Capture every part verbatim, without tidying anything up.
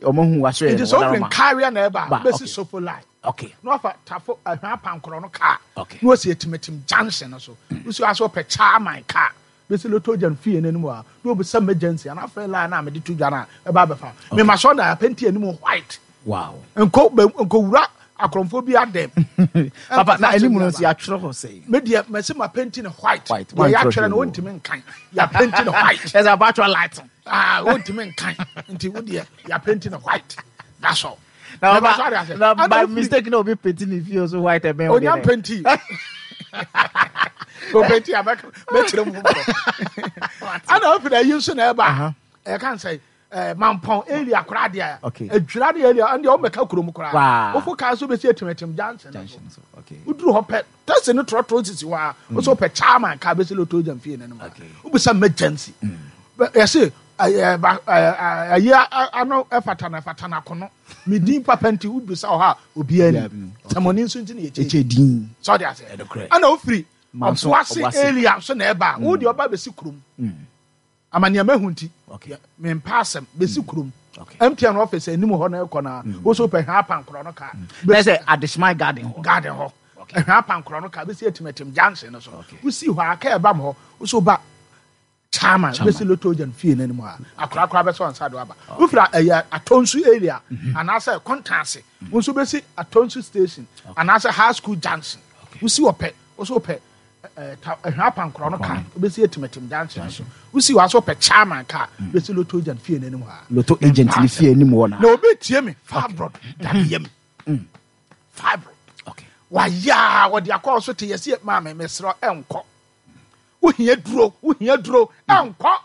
Ɔmo hu waso yɛ. Nti sɛ wofiri Nkaria na ɛba a, bɛsi Sofo line. Okay. Na wafa Tafo Ahwea Pankorɔ no kaa. Okay. Na wasi Atimatim junction no so. Wosi hɔ a sɛ wopɛ Chairman kaa, bɛsi Lotto Gyan fie no anim hɔ a, na wobisa emergency anaa afrɛ line no a mede to dwa no a, ɛba abɛfa. Mema sɛ ɔda apɛnti anim white. Wow. Nkɔ bɛ nkɔwura akorɔmfoɔ bi adɛm. Papa, na anim no nso yɛatwerɛ hɔ sɛn? Me deɛ mɛsi ma penti no white. White. Deɛ yɛatwerɛ no wontumi nkan. Yɛapenti no white. Ɛsɛ abatwerɛ light. Ah, wontumi nkan. Nti wo deɛ yɛapenti no white. That's all. Na ba, na by mistake na obi penti ne fie so white ɛbɛn wo deɛ. Onya penti. Openti a mɛkyerɛ mu foforɔ. Ana ofiri ayi nso na ɛba. Ɛka nsɛ eh, Mampɔn area koraa deɛ adwira ne area ɛndeɛ wɔmmɛka kurom koraa wofo kaa so bɛsi Atimatim junction no so woduru hɔ pɛ taxi no trɔtrɔ sisi hɔ a wo sɛ wopɛ chairman kaa bɛsi Lotto Gyam fie no anim a wobisa emergency yɛse ayi ano ɛfata no ɛfata no akono me din papa nti wobisa wɔ hɔ a obiara ni sɛmɔne nso nti na yɛkyɛ din sɛ ɔde aseɛ ɛna wofiri Ɔboase area nso na ɛba a wo deɛ ɔba bɛsi kurom Ama nea mahu nti, mempɛ asɛm. Besi kurom. M T N office anim hɔ na ɛkɔ na wo so pɛ hwɛ apankorɔ no kaa. Bɛyɛ sɛ Adehyeman garden hɔ. Garden hɔ. Hwɛ apankorɔ no kaa besi Atimatim junction no so. Wosi hɔ a kaa ɛba mo hɔ. Wo so ba Chairman besi Lotto Agyan fie no anim hɔ a akora koraa bɛsɛ ɔnsa do aba. Wofiri ɛyɛ Atonsu area anaasɛ Kontanse wo nso besi Atonsu station anaasɛ High School junction. Wosi hɔ pɛ wo so pɛ Ɛhwɛ apankorɔ no kaa wobɛsi Atimatim junction so wosi hɔ aso pɛ chairman kaa mm. bɛsi lotto agent fie no anim hɔ a lotto agent ne fie anim hɔ na na obi tie me fibroid dade yam mm. fibroid wayɛ a wɔde akɔ so te yɛsi maame mesrɛ ɛnkɔ wohia duro wohia duro mm. ɛnkɔ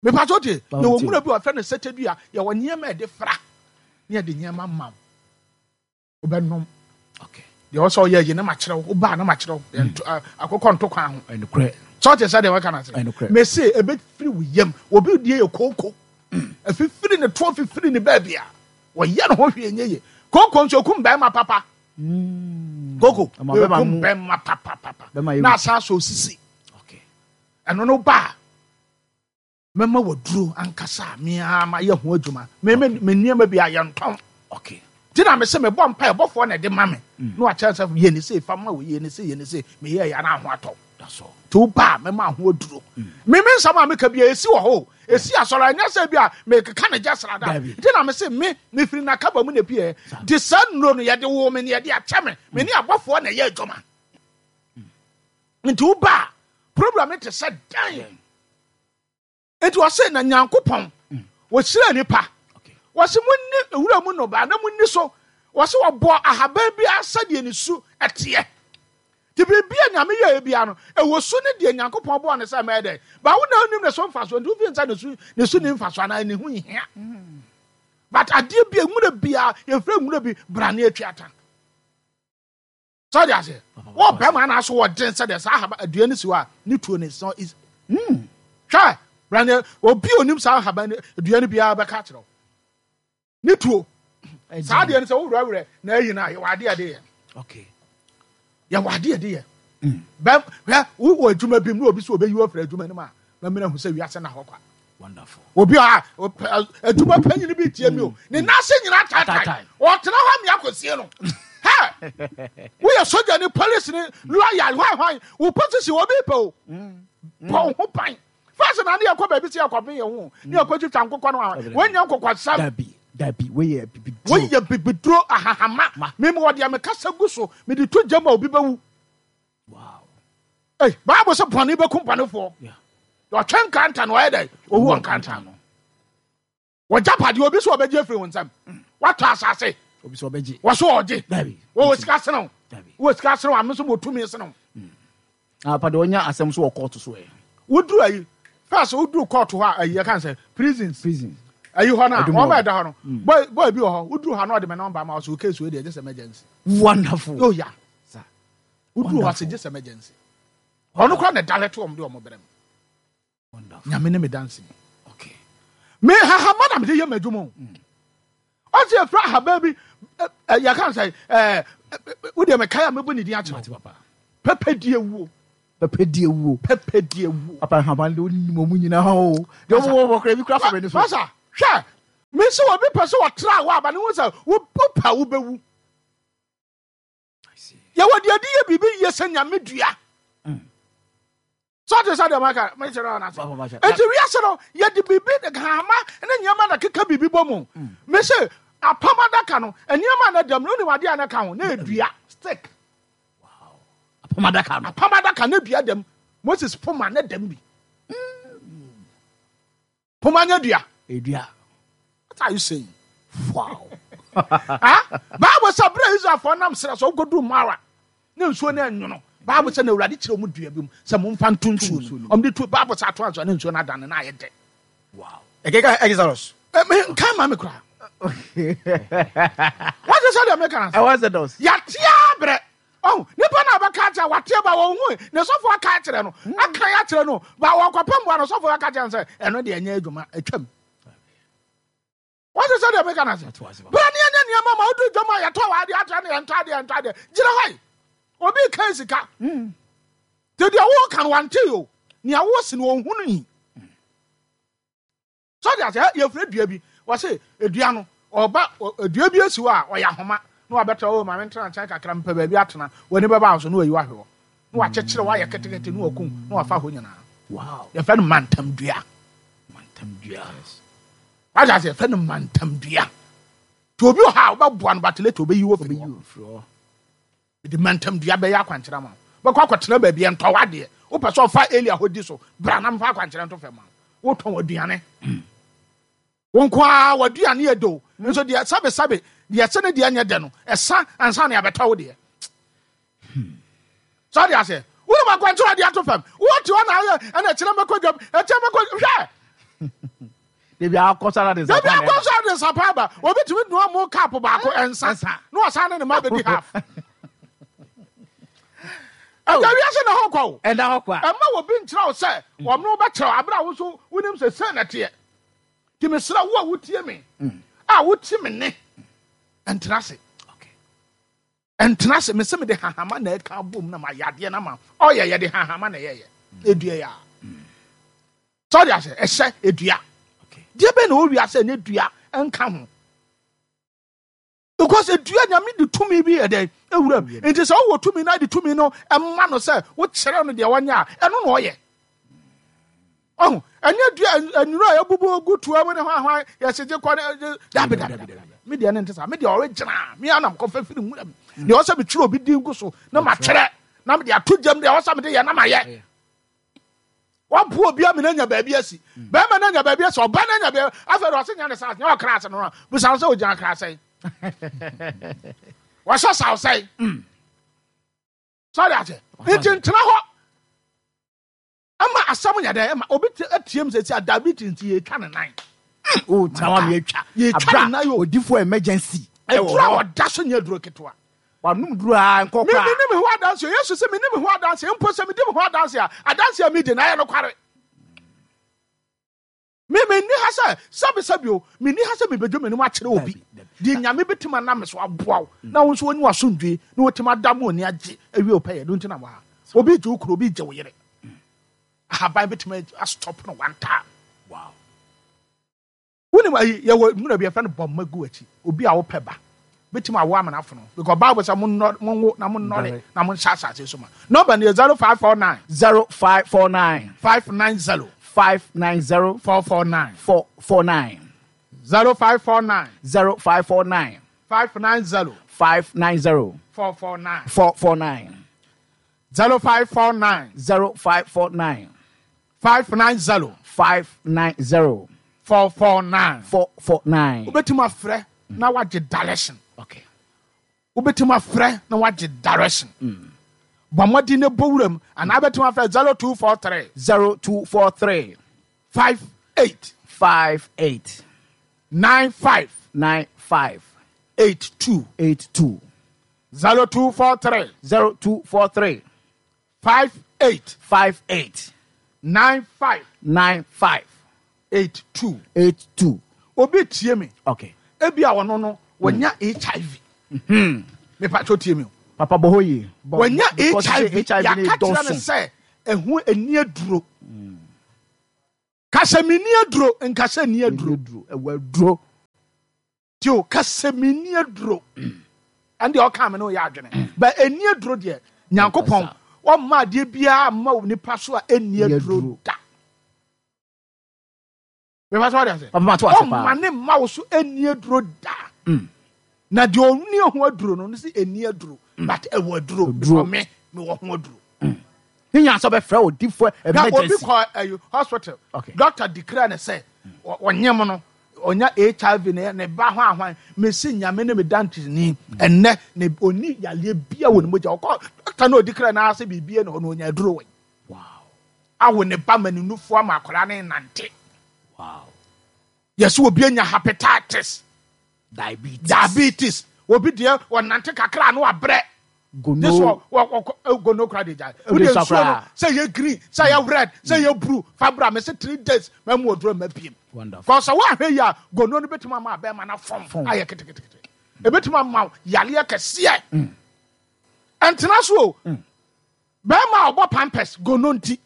mepatɔ tie yɛwɔ nwura bi wɔfrɛ no sɛtɛdua yɛwɔ nneɛma ɛde fra ne yɛde nneɛma ma wo wobɛnom deɛ ɔsɛ ɔyɛ yi na makyerɛ wo wobaa na makyerɛ wo hmm. akokɔ nto kwan ho sɛ ɔte sɛ deɛ wɔka no ase mese ɛbɛfiri wo yam obi die yɛ kooko hmm. ɛfifiri ne toɔ fifiri ne baabi a wɔyɛ ne ho hwee nyɛ ye kooko nso ɛkum bɛrima papa hmm. kooko ɛkum bɛrima papapapa na asan so osisi ɛno no baa Mɛma waduro ankasa a me ara mayɛ ho adwuma. Me me me nneɛma bi a yɛntɔn. Okay. Nti na mese mebɔ mpa ɛbɔfoɔ na ɛde ma me. Mm. Na wakyerɛ sɛ yɛ ne sei fa ma wo yɛ ne sei yɛ ne sei meyɛ yɛ na ho atɔ. That's all. Nti wo ba a mɛma ho aduro. Mm. Me me nsɛm a meka bi a esi wɔ hɔ. Esi asɔre ɛnyɛ sɛ bi a mekeka ne gya srada. Nti na mese me mefiri nakaba mu na pie. Nti saa nnuro no yɛde wo me ne yɛde akyɛ me. Me ne abɔfoɔ na ɛyɛ adwuma. Mm. Nti wo ba a problem no te sɛ dan. Enti ɔse na Nyankopɔn wɔhyira nipa, wɔse monni wura mu nnɔbaa na monni so, wɔse wɔbɔɔ ahaban biara sɛdeɛ ne su teɛ. Nti biribi a Nyame yɛɛ biara no, ɛwɔ su ne deɛ Nyankopɔn bɔɔ no sɛ mɛyɛ dɛn. Ba wo na wonim ne so mfasoɔ, nti wofii sɛ ne su ne su ne mfasoɔ anaa ne ho nhia. But adeɛ bi a nwura biara, yɛfrɛ nwura bi brane atuata. Sɛ ɔde aseɛ wɔ bɛrima anaasɛ wɔ den sɛ deɛ saa ahaba adua no si hɔ a ne tuo no is is mm hwɛ brane obi onim saa ahaba no dua no biara bɛka akyerɛ wo ne tuo saa deɛ no sɛ wowerɛwerɛ na ayi no a yɛwɔ adeɛ ɛde yɛ okay yɛwɔ adeɛ ɛde yɛ mm. bɛm hwɛ wowɔ adwuma bi mu na obi sɛ obeyi wo afiri adwuma no mu a mɛmena hu sɛ wiase na hɔ kwa. Wonderful. Obi a adwuma panyin bi tie mi o. Ne nan ase nyinaa taataa. Ɔtena hɔ amia kɔsie no. Hɛ! Woyɛ soja ni, police ni, lawyer, hwan hwan. Wo position obi pɛ o. Bɔ wo ho ban. First na ne yɛkɔ baabi sɛ yɛkɔben yɛn ho. Ne yɛkɔ twitwa nkokɔ no a. Wɔnyɛ nkokɔsɛm. Dabi, dabi, woyɛ bibiduro. Woyɛ bibiduro ahahama. Mimi wɔ deɛ mekasa gu so. Mede to gya mu a obi bɛwu. Wow. Hey, Bible sɛ bɔne bɛkum bɔnefoɔ. Ɔtwe nkranta no ɔyɛ dɛ owu wɔ nkranta no. Wɔgya padeɛ obi sɛ ɔbɛgye afiri wo nsam. Watɔ asase. Obi sɛ ɔbɛgye. Wɔ so ɔgye. Wɔwɔ sika sene wo. Wɔ sika sene wo ame nso mɔtumi sene wo. Hmm. Ah, pade ɔnya asɛm so wɔ kɔɔto so ɛ. Woduru ayi first woduru kɔɔto hɔ a ayi yɛka sɛ prisons. Prisons. Ayi hɔ no a wɔn bɛ da hɔ no. Hmm. Boy boy bi wɔ hɔ woduru hɔ na ɔde mɛ nɔmba ma ɔsɛ o case wei deɛ just emergency. Wonderful. Oh yeah. Woduru hɔ ase gye sɛ emergency. Ɔno koraa na ɛdalɛte wɔn de wɔn brɛ me. Nyame ne me danse ni. Okay. Me hahama na mede yɛ m'adwuma o. Mm. Ɔsɛ efura ahaban bi yɛka sɛ ɛɛ wodeɛ mekae a mɛbɔ ne din akyerɛ wo. Pɛpɛ di ewuo. Pɛpɛ di ewuo. Pɛpɛ di ewuo. Papa ahaban de onim ɔmo nyinaa o. Deɛ ɔmo wɔ wɔ kora ebi kora fɔ bɛ ne so. Masa hwɛ Mesi obi pɛ sɛ ɔtra wo aba ne ho sɛ wopɛ wobɛwu. Yɛwɔ deɛ de yɛ biribi yie sɛ Nyame dua. Sɛ ɔte sɛ deɛ maka mekyerɛ wo no ase. Enti wiase no yɛde biribi hama ne nneɛma na keka biribi bɔ mu. Mese apam adaka no nneɛma na dam no wonim adeɛ a na ka ho na ɛdua stick. Apam adaka no. Apam adaka na dua dam. Moses poma na dam bi. Poma nya dua. Edua. What are you saying? Wow. Ah, Bible sɛ berɛ Israelfoɔ nam serɛ so wokɔduru Mara ne nsuo no ɛnwono. Bible sɛ na Awurade kyerɛ mu dua bi mu sɛ momfa nto nsuo no. Ɔmde tu Bible sɛ ato anso ne nsuo no adane na ayɛ dɛ. Wow. Ɛkeka Exodus. Nka ma me koraa. Wate sɛ deɛ meka no Ɛwɔ Exodus. Yɛatea berɛ. Oh, nipa na bɛka kyerɛ wateɛ ba wɔn hu ne sɔfo aka kyerɛ no aka ya kyerɛ no ba wɔkɔpɛ mmoa no sɔfo aka kyerɛ no sɛ ɛno deɛ ɛnyɛ adwuma atwam. Wɔte sɛ deɛ meka no ase. Berɛ ne ɛnyɛ nneɛma ma wodu dwam a yɛtɔ wɔ adeɛ akyerɛ no yɛntɔ adeɛ yɛntɔ adeɛ gyina hɔ yi obi ka sika nti deɛ woka no wante o nea wosi no ɔhunu yi sɛ ɔde ase yɛfrɛ dua bi wɔse dua no ɔba dua bi asi hɔ a ɔyɛ ahoma na wabɛtena o maame ntena nkyɛn kakra mpɛ baabi atena w'ani bɛba so na wayi wahwɛ hɔ na wakyekyere wayɛ ketekete na wakum na wafa hɔ nyinaa. Wow. Yɛfrɛ no mantam dua. Mantam dua. Wagye ase yɛfrɛ no mantam dua. Nti obi wɔ ha a wobɛboa no but later obeyi wo firi hɔ. Mede mantam dua bɛyɛ akwankyerɛ ma wo. Bɛkɔ akɔtena baabi ɛntɔ w'adeɛ. Wopɛ sɛ ɔfa Elia hɔ di so bra na mfa akwankyerɛ nto fam ma wo. Wotɔn aduane. Wo nko ara w'aduane yɛ do. Nso deɛ sabe sabe deɛ sɛ ne deɛ nyɛ dɛ no ɛsa ansa na yɛabɛtɔ wo deɛ. Sɛ ɔde ase wonim akwankyerɛ ɔde ato fam. Wote hɔ na ayɛ ɛna ɛkyerɛ mɛkɔ dwam ɛkyerɛ mɛkɔ hwɛ. Debi akɔ so de nsa. Debi akɔ so de nsa pa aba. Obi tumi dua mo cup baako nsa. Na ɔsan ne ne ma bɛdi half. Ɛda wiase na hɔ kɔ o. Ɛda hɔ kɔ a. Ɛma obi nkyerɛ wo sɛ wɔn no bɛkyerɛ wo abere a wo nso wonim sɛ sɛ na teɛ. Nti mesrɛ wo a wotie me a wotie me ne ɛntena ase. Ɛntena ase mesɛ mede hahama na ɛka abom na mayɛ adeɛ na ma ɔyɛ yɛde hahama na ɛyɛyɛ. Edua yɛ a. Sɛ ɔde ase ɛhyɛ edua. Deɛ bɛn na ɔwi ase ɛnyɛ dua ɛnka ho. Because edua Nyame de tumi bi yɛ dɛn ewura mu. Nti sɛ ɔwɔ tumi na de tumi no ɛma no sɛ wokyerɛ no deɛ ɔnyɛ a ɛno na ɔyɛ. Ɔho ɛnyɛ dua nnuro a ebubu gu tua mu ne hwan hwan yɛsɛ gye kɔ ne dabi dabi dabi. Me deɛ ne nte saa. Me deɛ ɔregyina me anam kɔfɛ firi nwura mu. Deɛ ɔsɛ metwerɛ obi din gu so na matwerɛ na mede ato gyam deɛ ɔsɛ mede yɛ na mayɛ. Wabu obi amina nya baabi asi. Bɛrima na nya baabi asi, ɔba na nya baabi. Afei de ɔsɛ nya ne saa nya ɔkra ase no no. Busa sɛ ogyina kra sɛn. Wɔhyɛ saw sɛn. Sɔre ase. Nti ntena hɔ. Ama asɛm nyɛ dɛ ma obi atiem sɛ si a diabetes nti yɛtwa ne nan. O tena hɔ yɛtwa. Yɛtwa ne nan o. Odifo emergency. Aduro a wɔda so nyɛ aduro ketewa. Wanum duro a nkɔ kora. Me me ne me ho adanse. Yesu sɛ me ne me ho adanse. Mpo sɛ me di me ho adanse a adanse a me di na ayɛ no kware. Me me ni ha sɛ sɛbi sɛbi o me ni ha sɛ me bedwo m'anim akyerɛ obi. Deɛ Nyame bɛtumi anam me so aboa wo na wo nso w'ani w'asomdwe na wɔtumi ada mu ani agye awie wo pɛyɛ no nti na wɔ ha. Obi gye wo kunu, obi gye wo yere. Ahaban bɛtumi astop no one time. Wow. Wonim ayi yɛwɔ nwura bi yɛfrɛ no bɔmma gu akyi. Obi a wopɛ ba bɛtumi awo amena afono because Bible sɛ monnɔ monwo na monnɔre na monhyɛ asase so ma. Number no yɛ zero five four nine. zero five four nine. five nine zero. five nine zero. four four nine. four four nine. zero five four nine. zero five four nine. five nine zero. five nine zero. four four nine. four four nine. zero five four nine. zero five four nine. five nine zero. five nine zero. four four nine. four four nine. Wobɛtumi afrɛ na wagye direction. Okay. Wobɛtumi afrɛ na wagye direction. Bɔ mmɔden na bɔ wuram anaa wobɛtumi afrɛ zero two four three. zero two four three. five eight. five eight. nine five. nine five. eight two. eight two. zero two four three. zero two four three. five eight. five eight. nine five. nine five. eight two. eight two. Obi tie me. Okay. Ebi a wɔno no wɔnya H I V. Mepa kyɛw tie me o. Papa bɔ hɔ yie. Wɔnya Because H I V. H I V ne Yɛaka kyerɛ no dɔɔso. sɛ ɛho ani aduro. Ka sɛ menni aduro, nka sɛ nni aduro. Nni aduro. Ɛwɔ aduro. Tio kasa mi ni aduro. Ɛnde ɔka me no yɛ adwene. Ba eni aduro deɛ Nyankopɔn ɔmma adeɛ biara mma nipa so a eni aduro da. Bɛfa so ɔde ase. Ɔmma ne mma wo so eni aduro da. Na deɛ ɔni ho aduro no no si eni aduro but ɛwɔ aduro because me me wɔ ho aduro. Ne nya sɛ ɔbɛfrɛ wo difo emergency. Obi kɔ ɛyi hospital. Doctor declare ne sɛ ɔnyem no onya H I V ne ne ba ho ahwan mesi nyame ne me dantini enne ne oni yale bia wɔ ne mogya ɔkɔ doctor no declare na ase bibie na ɔno onya aduro wɔ. Wow. Awo ne ba ma ne nufu ama akora ne nante. Wow. Yes, obi anya hepatitis, diabetes, diabetes. Obi de ɔnante kakra no abrɛ. Gono gono kra de gya. Wo de nsuo no sɛ yɛ green, sɛ yɛ red, sɛ yɛ blue. Fabra me se three days ma mu oduro ma biem. Wonderful. Cause wa hwe ya gono no betuma ma be ma na fom ayɛ ketekete. E betuma ma yale kɛseɛ. Entena so o. Be ma obo pampers gono nti.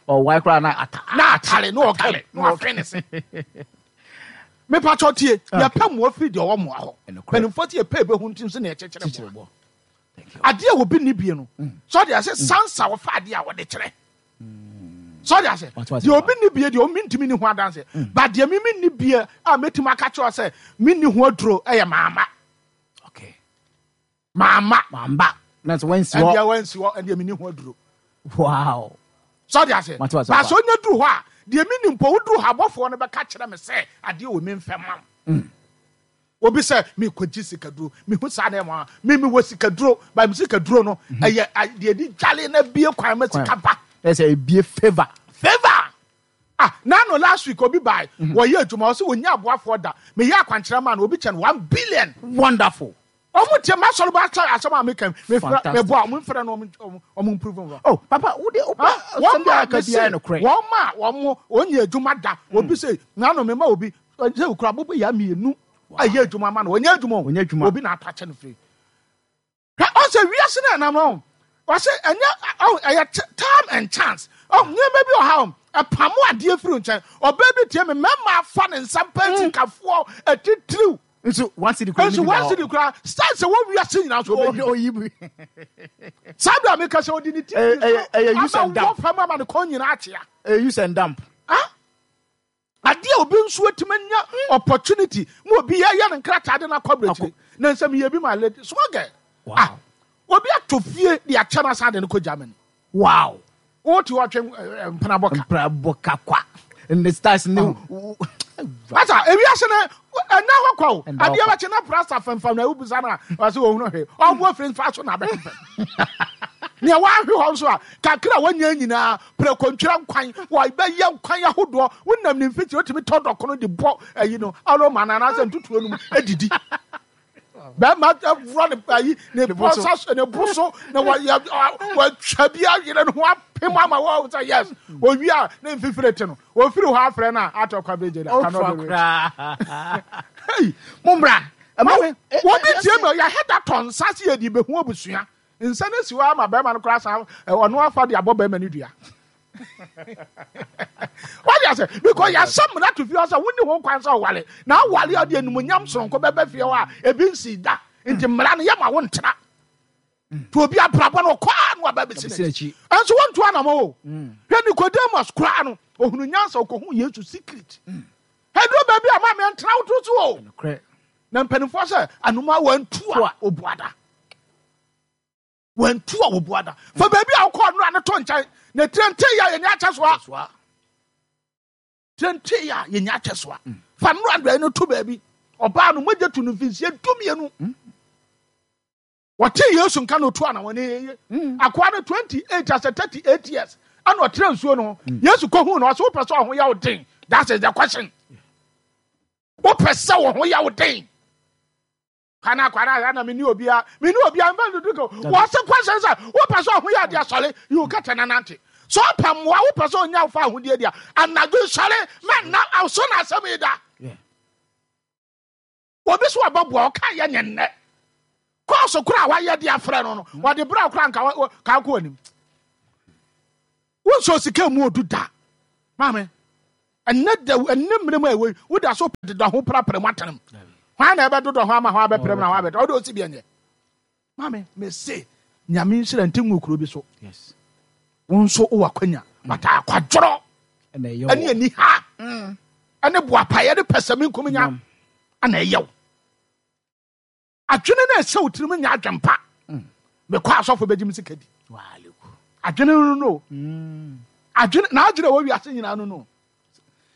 O why kra na ata na atale no okale no afre ne se. Me pa chotie ya pɛ mo afiri de owo mo aho. Panimfo tie pɛ be hu ntim se na echekyere mo. Ade a obi ni bie no. So de ase sansa wo fa ade a wo de kyere. So de ase de obi ni bie de o mintimi ni ho adanse. Ba de mi mi ni bie a metim aka kyerɛ sɛ mi ni ho aduro eye mama. Okay. Mama. Mamba. Na so wansi ho. Ende wansi ho ende mi ni ho aduro. Wow. So de ase. Ba so nya duru ho a de mi ni mpo woduru ha bɔfo no bɛka kyerɛ me sɛ ade o mi mfɛma. Obi sɛ mi kɔgye sikaduro mi hu saa na ɛma mi mi wɔ sikaduro ba mi sikaduro no ɛyɛ deɛ di dwale na bie kwan ma sika ba. Ɛsɛ ebie favour. Favour ah nano last week obi baa wɔyɛ adwuma ɔsɛ wɔnya aboafoɔ da mi yɛ akwankyerɛ ma no obi kyɛn one billion. Wonderful. Ɔmo tie ma sɔrɔ ba sɛ asɛm a mi kɛm mi fira mi bɔ a ɔmo nfrɛ no ɔmo ɔmo improve wɔn. Oh papa wo de opa wɔn ma mi se wɔn ma wɔn wɔnyɛ adwuma da obi sɛ nano mi ma obi sɛ okura bobo ya mienu. Aye adwuma ma no onye adwuma onye adwuma obi na atache no free ka o se wiase na na no o se enya o time and chance o nyema bi o ha o pamo ade afiri nchen o ba bi tie me mema afa ne nsam penti kafo etitiriw nso one city kura nso one city kura start se wo wiase nyina so obi oyi bi sabra me ka se odi ni ti eh eh use and dump fa ma ne kon nyina atia eh use and dump ah ade obi nso atimanya opportunity mo obi ya ya nkrata de na kwabrechire na nsem ye bi my lady small girl. Ah obi atofie de acha na sa de no ko Germany. Wow. O ti o twe mpena boka mpena boka kwa in the stars ni asa ewi ase na na hokwa o ade ba che na prasa famfam na ubusa na wa se wo hunu he obo afiri fa so na be ne wa hwe ho so a kakra wanya nyina prekontwira nkwan wa be ye nkwan ahodo wonam ne mfiti otimi tɔdɔ kono de bɔ ayi no alo mana na se ntutuo no edidi ba ma wura ne ayi ne bosa ne boso na wa wa twa bia yere no ho apem ama wa say yes owi a ne mfifire te no ofiri ho afrɛ na atɔ kwa beje da kanu be hey mumbra wo bi tie me ya head aton sase ye di be hu abusua nsa na siwa ama ba ma no kra sa ono afa de abɔ ba ma ne dua. What you say? Because you some na to feel say wonni ho kwan say wale na wale ade enumunyam soronko bebe fie ho a ebi nsi da nti mmara no ye ma wo ntra to obi abrabɔ no kwa no aba besi n'akyi enso wontu anamo o hwɛ Nicodemus kra no ohunu nyansa okohu Yesu secret hedro baby ama me ntra wo to so o na mpanimfo sɛ anoma wantu a obuada wantu a obuada fa baby a wokɔ no ane to nkyɛn na trente ya yɛ nya kyɛsoa trente ya yɛ nya kyɛsoa fa no andra no to baby oba no mogye to no mfinsie dumienu wɔte Yesu nka no to ana wɔne yeye akoa no twenty-eight as thirty-eight years ana ɔtre nsuo no Yesu kɔhu no ɔsɛ wopɛ sɛ ɔho yɛ wo den. That is the question. Wopɛ sɛ ɔho yɛ wo den kana kwara na me ni obia me ni obia mfa ndudu ko wo se question sɛ wopɛ sɛ ɔho yɛ ade asɔre you kata na nante so pɛ mmoa wopɛ sɛ onya fa ahodie dia anadwo sɔre ma na awso na asɛm yi da obi so ababoa ɔka yɛ nyɛ kɔɔso kora a wayɛ de afrɛ no no wɔde bra kora nka ka kɔ anim wo so sika mu odu da maame Ɛnɛ da ɛnɛ mmerɛ mu a ɛwɔ yi woda so deda ho prapra mu atenam. Hwan na ɛbɛdodɔ ho ama ho abɛprɛm na ho abɛtɔ ɔde osi bi ɛnyɛ. Maame mese Nyame nhyira nti ngu kuro bi so. Yes. Wo nso wowɔ akwanya but akwadworɔ Ɛna ɛyɛ ɛne ani ha ɛne boapayɛ ne pɛsɛmi nkominya ɛna ɛyɛ wo. Adwene no ɛhyɛ wo tirim nyɛ adwempa. Mekɔ asɔfo bɛgye me sika di. Adwene no no. Adwene na adwene wɔ wiase nyinaa no no.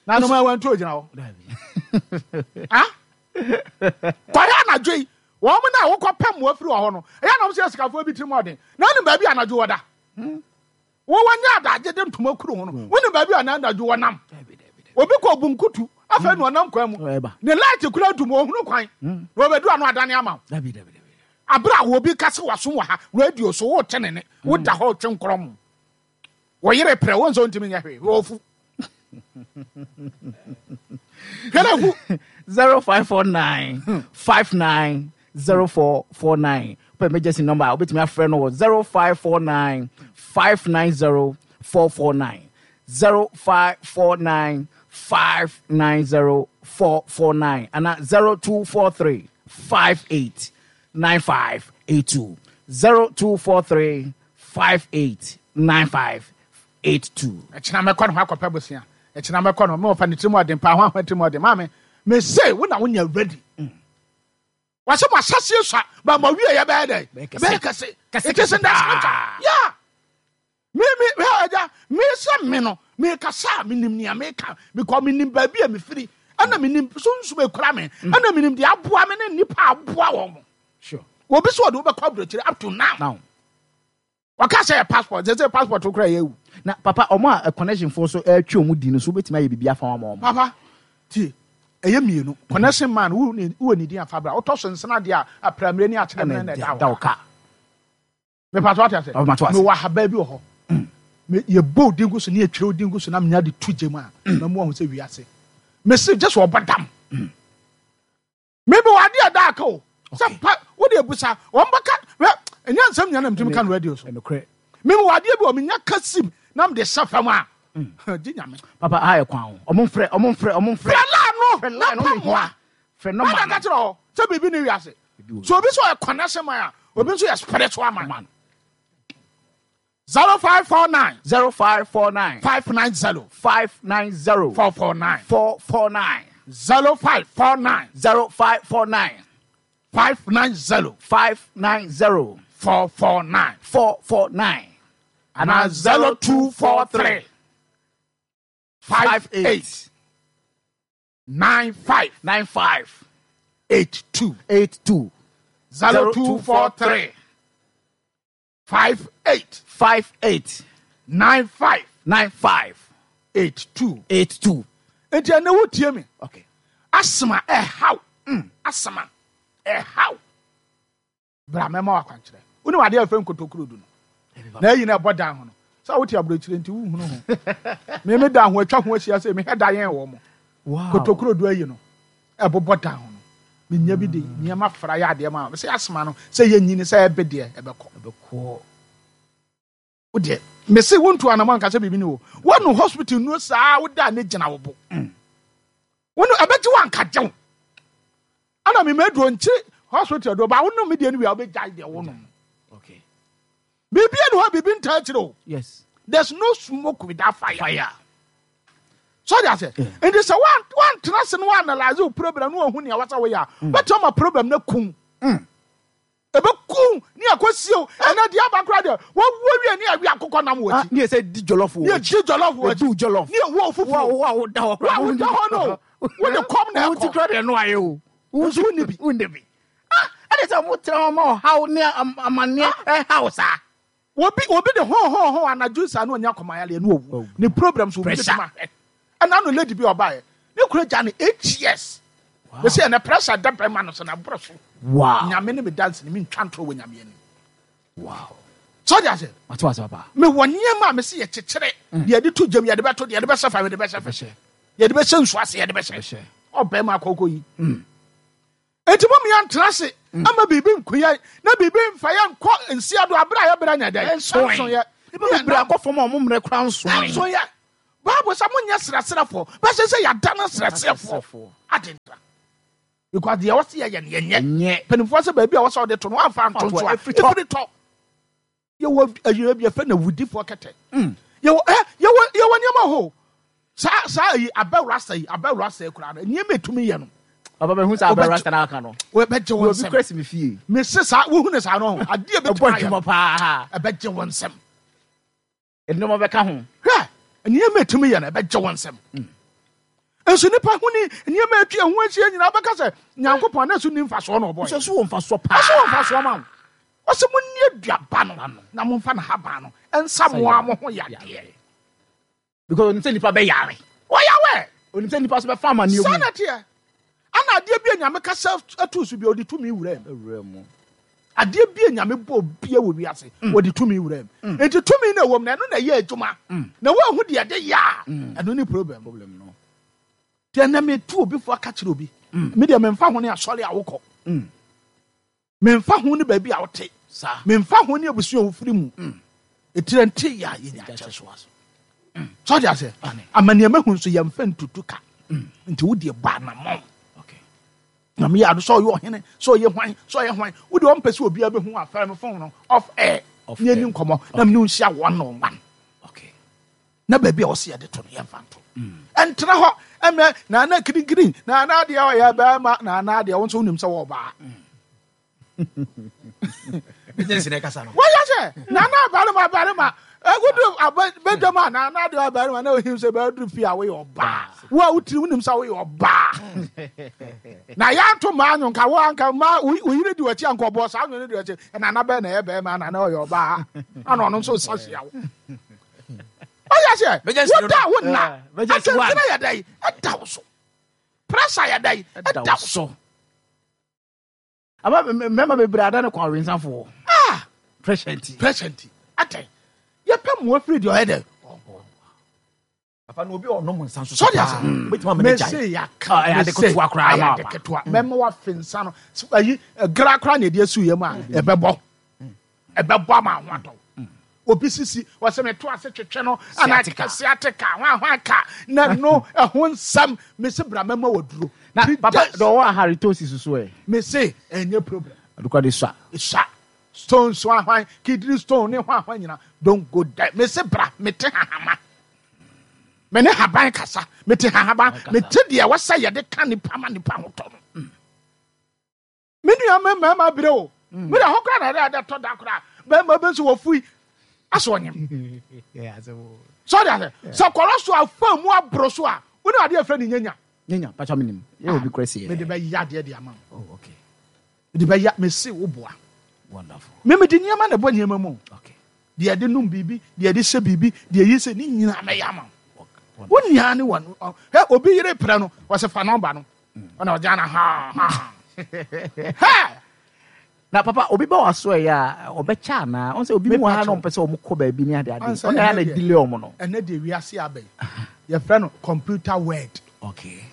Na no ma wantu ogyina hɔ. Ah? Kɔyɛ anadwo yi wɔn mu na wokɔ pɛ mmoa firi wɔ hɔ no ɛyɛ na wɔn sɛ sikafoɔ bi tirim ɔden na wonim baabi a anadwo wɔda. Wɔwɔ nyɛ adagye de ntoma kuru ho no wonim baabi a anadwo wɔnam. Obi kɔ bunkutu afei na ɔnam kwan mu ne light kura dum ohunu kwan na wɔbɛdu ano adane ama wo. Abere a obi kasa wasom wɔ ha radio so wote ne ne woda hɔ twe nkorɔ mu wɔyere prɛ wo nso ntumi nyɛ hwee wɔfu. Hwɛ fu. Zero five four nine five nine zero four four nine. Pɛ emergency number a wobɛtumi afrɛ no wɔ zero five four nine five nine zero four four nine zero five four nine five nine zero four four nine ana zero two four three five eight nine five eight two zero two four three five eight nine five eight two. Ɛkyina mɛkɔ ne ho akɔpɛ bosia. Ɛkyina mɛkɔ no mewɔfa ne tirim ɔden paa ho ahoa tirim ɔden. Maame mese wo na wonya ready. Wɔsɛ mo asaseɛ sua ba ma wie yɛ bɛyɛ dɛ bɛyɛ kɛse. It is in the scripture. Yeah. Me me me agya me sɛ me no me kasa a menim nea meka because menim baabi a mefiri ɛna menim sunsum ekura me ɛna menim deɛ aboa me ne nnipa aboa wɔn mo. Sure. Obi sɛ ɔde wobɛkɔ aburokyire up to now. Now. Wɔka sɛ yɛ passport sɛ sɛ passport kora yɛ awu. Na papa ɔmo a connection fo so ɛtwe ɔmo di no so wobɛtumi ayɛ biribi afa wɔn ama ɔmo. Papa tie ɛyɛ mmienu connection man wo ne wo ne din afa bra wotɔ so nsena deɛ a apramire ne akyerɛ mene na ɛda da wo wo ka. Mepa so ate ase. Papa, mato ase. Mewɔ ahaba bi wɔ hɔ. Me yɛbɔ odin gu so ne yɛtwerɛ odin gu so na menya de to gye mu a na mu ahu sɛ wiase. Mese gye sɛ ɔbɔ dam. Mebe wɔ adeɛ a da aka o. Sɛ pa wo de ebusa wɔn bɛka hwɛ ɛnyɛ nsɛm nyinaa na metumi ka no radio so. Ɛnokorɛ. Mebe wɔ adeɛ bi wɔ menya ka sim na mede hyɛ fam a gye Nyame. Papa ha yɛ kwan o. Ɔmo mfrɛ ɔmo mfrɛ ɔmo mfrɛ. Frɛ laa no Frɛ na line no pa ɔmo mmoa. hia. Frɛ Wọ́n nɔma ka no. kyerɛ hɔ sɛ biribi ne wiase. So obi sɛ ɔyɛ connection man a obi nso yɛ spiritual man. Man. Zero five four nine Zero five four nine five nine zero five nine zero four four nine four four nine zero five four nine zero five four nine five nine zero five nine zero four four nine four four nine and zero two four three five eight nine five nine five eight two eight two zero two four three five eight five eight nine five nine five eight two. eight two. Nti ɛnɛ wo tie mi. Okay. Asma ɛhaw. Asma ɛhaw. Bra mɛma wakwankyerɛ. Wo ne wade afɛ nkotokuro du no. Na ayi na ɛbɔ dan ho no. Sɛ wote aburokyire nti wohunu ho. Me me dan ho atwa ho ahyia sɛ mehwɛ da yɛn wɔ mo. Wow. Kotokuro du ayi no. Ɛbobɔ dan ho no. Menya bi de nneɛma fra yɛ adeɛ ma. Sɛ asma no sɛ yɛnyini sɛ ɛbɛ deɛ ɛbɛkɔ. Ɛbɛkɔ. Wo deɛ mese wontu anamɔ anka sɛ biribi ne wo. Woanu hospital nuo saa woda ne gyina wo bo. Wonu ɛbɛgye wo anka gye wo. Ana me maduro nkyiri hospital do ba wonom me deɛ no wie a wobɛgyae deɛ wonom. Okay. Biribi ani hɔ biribi ntaa akyire o. Yes. There's no smoke without fire. Fire. So de ase. Nti sɛ woantena se no woanalyse wo problem no wahu nea wɔsɛ woyɛ a bɛtumi ama problem no kum. Ɛbɛkum ne akɔsie o. Ɛnɛ deɛ aba koraa deɛ wɔwuo wie ne awi akokɔ nam wɔ Ah, akyi. ne yɛ sɛ di jollof wɔ Ne yɛ jollof wɔ Di akyi. jollof. Ne yɛ wɔ fufuo. Wo a woda hɔ koraa. Wo a woda hɔ no. Wode kɔm na Wo ti ɛkɔ. koraa deɛ no ayɛ o. Wo Nso wonni bi. Wonni bi. Ah, ɛde sɛ mo tena hɔ ma ɔhaw ne am- amanneɛ ɛhaw saa. Obi obi de ho ho ho anadwo saa na onya kɔmayale no owu. Ne problem so obi Pressure. betuma hwɛ. Ɛna no lady bi ɔbaeɛ. Ne kura gya ne eight years. Wow. Bɛsɛ ɛnɛ pressure da bɛrima no so na borɔ so. Wow. Nyame ne me dance ne me ntwa ntorɔ wɔ Nyame anim. Wow. So de ase. Mate wase papa. Me wɔ nneɛma a mese yɛkyekyere. Deɛ yɛde to gyam yɛde bɛto deɛ yɛde bɛhyɛ fa yɛde bɛhyɛ fa. Yɛde bɛhyɛ nsu ase yɛde bɛhyɛ. Ɔbɛrima akɔkɔ yi. Enti mo mmea ntena ase ama biribi nko yɛn na biribi mfa yɛn nkɔ nsia do abere a yɛbrɛ nyɛ dɛn. Ɛnso Ɛnso yɛ. Nipa bebree akɔ fam a ɔmo mmerɛ koraa nso Ɛnso yɛ. Bible sɛ monyɛ serɛserɛfoɔ, bɛsɛ sɛ yɛada no serɛserɛfoɔ adentra. Because deɛ wɔsi yɛ yɛ nyɛ. Mpanimfoɔ sɛ baabi a wɔsɛ ɔde to no wɔamfa nto nso a ɛfiri tɔ. Yɛwɔ ayɛ bi yɛfrɛ no awudifoɔ kɛtɛ. Yɛwɔ ɛ yɛwɔ yɛwɔ nneɛma hɔ. Saa saa yi abɛwura sɛ yi abɛwura sɛ koraa no nneɛma etumi yɛ no. Papa bɛ hu sɛ abɛwura sɛ n'aka no. Wɔbɛgye wɔn nsɛm. Obi kura si mi fie. Mesi saa wohu ne saa no ho adeɛ bɛtumi ayɛ. Ɛbɔ adwuma paa. Ɛbɛgye wɔn nsɛm. Nneɛma bɛka ho. Hwɛ nneɛma etumi yɛ no ɛbɛgye wɔn nsɛm. Nso nipa ho ni nneɛma atwa ho ahyia nyinaa bɛka sɛ Nyankopɔn na so ni mfasoɔ na ɔbɔ. Nso so wɔ mfasoɔ paa. Ɔso wɔ mfasoɔ ma wo. Ɔsɛ mo nni aduaba no na momfa ne haban no ɛnsa mo a mo ho yadeɛ. Because onim sɛ nipa bɛyare. Wɔyawɛ. Onim sɛ nipa so bɛfa amanneɛ mu. Saa na teɛ. Ana adeɛ bi a Nyame kasa atu so bi a ɔde tumi wura mu. Wura mu. Adeɛ bi a Nyame bɔ bia wɔ wiase ɔde tumi wura mu. Nti tumi na ɛwɔ mu na ɛno na ɛyɛ adwuma. Na woahu deɛ ɛde yɛ a ɛno ne problem. Problem no. Deɛ na metu obi fo aka kyerɛ obi. Me deɛ memfa ho ne asɔre a wokɔ. Memfa ho ne baabi a wote. Memfa ho ne abusua a wofiri mu. Ɛtire nte yɛ a yɛnya akyɛ so aso. So deɛ sɛ amanneɛma hu nso yɛmfa ntutu ka. Nti wo deɛ bɔ anammɔn. Na meyɛ ado sɛ ɔyɛ ɔhene, sɛ ɔyɛ hwan, sɛ ɔyɛ hwan. Wo deɛ ɔmpɛ sɛ obiara bɛhu afɛre me phone no off air. Ne ani nkɔmmɔ na mene wo nhyia one on one. Na baabi a wɔsi yɛde to no yɛmfa nto. Ɛntena hɔ ɛmɛ na ana kirikiri na ana adeɛ ɔyɛ bɛrima na ana adeɛ wo nso wonim sɛ wɔ ɔbaa. Wɔyɛ sɛ na ana barima barima ɛgudu abɛdwam a na ana adeɛ barima na ohim sɛ bɛduru fie a woyɛ ɔbaa. Wo a wotiri wonim sɛ woyɛ ɔbaa. Na yɛanto maa nwo nka wo anka ma wo yere di w'akyi anka ɔbɔ saa nwo no di w'akyi na ana bɛn na ɛyɛ bɛrima na ana ɔyɛ ɔbaa. Ana ɔno nso nsa hyia wo. Oh yes, yeah. What that would not. I said, a day, a thousand. Pressure a day, a thousand. Aba mema be brada ne kwa winsa for. Ah, pressure nti. Pressure nti. Ate. Ye pɛ mo afiri de ɔyɛ Papa no obi ɔnom nsa so. So dia. Obetuma me gya. Me ya ka. Ade ketewa koraa ma. Ade ketewa. Mema wa finsa no. Ayi gra koraa na e asu ye mu a ebebɔ. Ebebɔ ama ho atɔ. Obi sisi wɔsɛ me to ase twetwe no ana sciatica hwan hwan ka na no ɛho nsɛm me se bra mɛma waduro na papa do wɔ halitosis so ɛ me se ɛnyɛ problem adukwa de sa sa stone so hwan kidney stone ne hwan hwan nyina don't go there me se bra me te hahama me ne haban kasa me te hahaba me te deɛ wɔsɛ yɛde ka nipa ma nipa ho tɔ no me nua me mɛma bere o me da hɔ kora na ɛde tɔ da kora bɛma bɛ nso wɔ fui aso onyem. So there so kɔrɔ so afa mu abro so a wo na ade afra ni nyanya. Nyanya pa cha minim. Ye obi kresi. Me de be ya de de ama. Oh okay. Me de be ya me se wo boa. Wonderful. Me me de niam na bo niam mu. Okay. De de num bibi, de de hye bibi, de yi se ni nyina me ya ma. Wo nia ne won. He obi yere pre no, wo se fa number no. Ona o jana ha ha. Ha! Na papa obi ba waso e ya obecha na on say obi mu ha na on pese o mukọ ba bi ni ade ade on na na delay o mo no ene de wiase abai ye frɛ no computer word. Okay,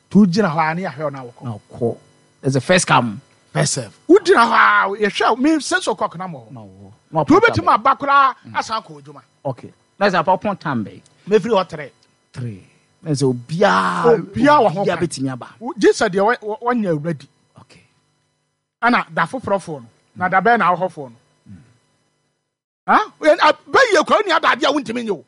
tu gina hɔ ani ahwɛ na wokɔ na wokɔ there's a first come first serve wo gina hɔ ye hwɛ me sense o'clock na mo na tu betima abakora asan kɔ odwuma. Okay, na say papa pon time be me free hɔ three three na say obia obia wa ho obia betimi aba Jesus de wanya ready. Okay, ana da foforo no na da bɛn na ahɔfo no ah bɛ yɛ kwa ni adade a wontimi nye o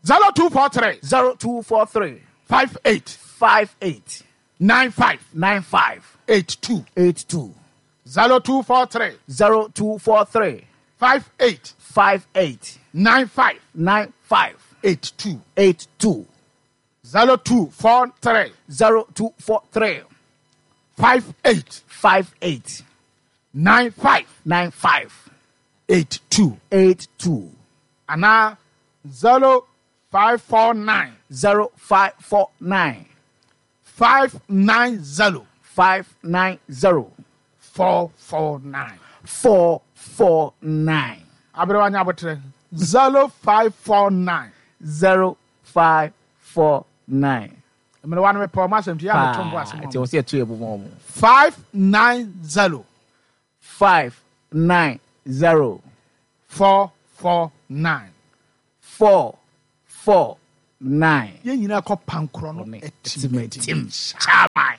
zero two four three zero two four three five eight five eight nine five nine five eight two eight two zero two four three zero two four three five eight five eight nine five nine five eight two eight two zero two four three zero two four three five eight five eight nine five nine five eight two eight two ana zero five four nine zero five four nine five nine zero five nine zero four four nine four four nine aberewa nya abotre zero five four nine zero five four nine mmerewa no mepɛ ɔmo asɛm ti yɛ ameto mbo asɛm nti wɔsi ɛto yɛ bɔ mu five nine zero five nine zero four four nine four four nine. Yɛn nyinaa kɔ pankorɔ no atimatim chairman.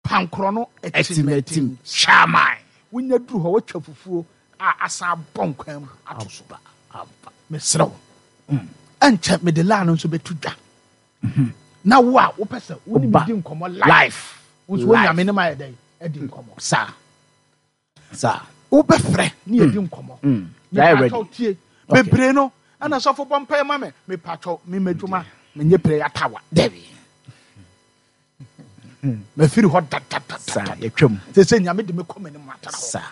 Pankorɔ no atimatim chairman. Wonya duru hɔ watwa fufuo a asan abɔ nkwan mu ato so. Mesrɛ wo. Ɛnkyɛ mede laa no nso bɛto dwa. Na wo a wopɛ sɛ wo ne me di nkɔmmɔ life. Wo nso wonya me ne ma yɛ dɛn adi nkɔmmɔ. Saa. Saa. Wobɛfrɛ ne yɛdi nkɔmmɔ. Mepatwɔ tie. Bebree no ɛna sɔfo bɔ mpae ma me. Mepatwɔ me madwuma menyɛ prayer tower. Dabi. Mafiri hɔ dadadada. Saa yɛtwam. Sɛ sɛ Nyame de me kɔ m'anim atara hɔ. Saa.